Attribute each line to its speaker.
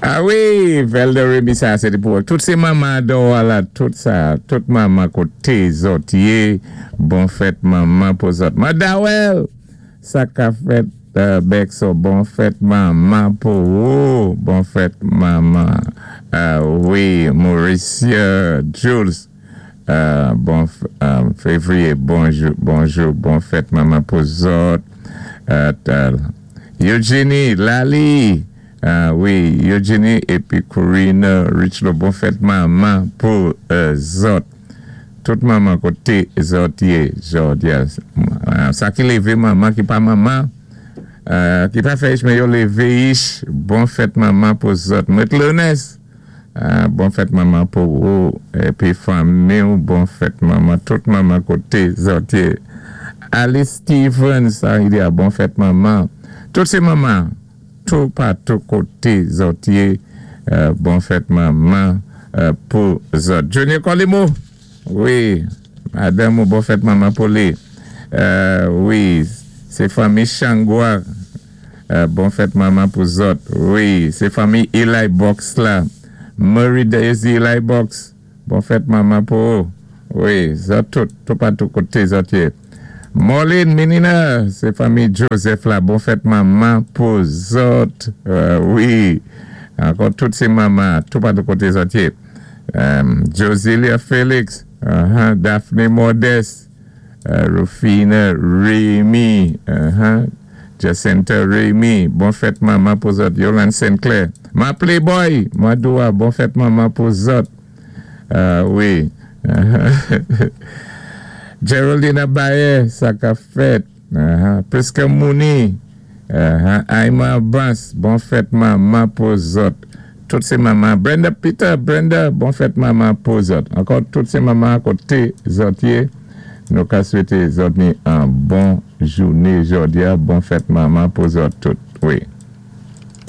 Speaker 1: A wi, Velda Remy, sa sé pou tout sé manman dò la, tout sa, tout manman koté zòt yé, bon fèt manman pou zòt. Madawel, sa ka fèt Bexo, bon fèt manman pou ou, bon fèt manman. Wi, Mauricia Jules, bon février, bonjou, bonjou, bon fèt manman pou zòt. Eugenie, Lali, wi, Eugenie épi Corina Richlo, bon fèt manman pou zòt. Tout manman koté zòt yé jòdi a. Sa ki lévé manman, ki pa manman, ki pa fè ich men yo lévé ich, bon fèt manman pou zòt. Mèt Leonès, bon fèt manman pou ou épi fanmi, bon fèt manman, tout manman koté zòt yé. Alice Stevens, sa li di a, bon fèt manman. Tout sé manman, tou patou koté zòt yé, bon fèt manman pou zòt. Junior Colimo, wi, madanm ou, bon fèt manman pou li. Wi, sé fanmi Changwa, bon fèt manman pou zòt. Wi, sé fanmi Eli Box la, Murray Daisy Eli Box, bon fèt manman pou ou. Wi, zòt tout, tou patou koté zòt yé. Marlene Menina, sé fanmi Joseph la, bon fèt manman pou zòt. Wi, ankò tout sé manman, tou patou koté zòt yé. Josilia Felix, Daphne Modeste, Rufina Rémy, Jacinta Rémy, bon fèt manman pou zòt. Yolande Sinclair, ma playboy, Madoua, bon fèt manman pou zòt. Wi. Geraldine Abaye, sa ka fèt. Priska Mouni, Aïma Abbas, bon fèt manman pou zòt. Tout sé manman. Brenda Peter, Brenda, bon fèt manman pou zòt. Ankò tout sé manman koté zòt yé. Nou ka swété zòt ni an bon jouné jòdi a, bon fèt manman pou zòt tout. Wi.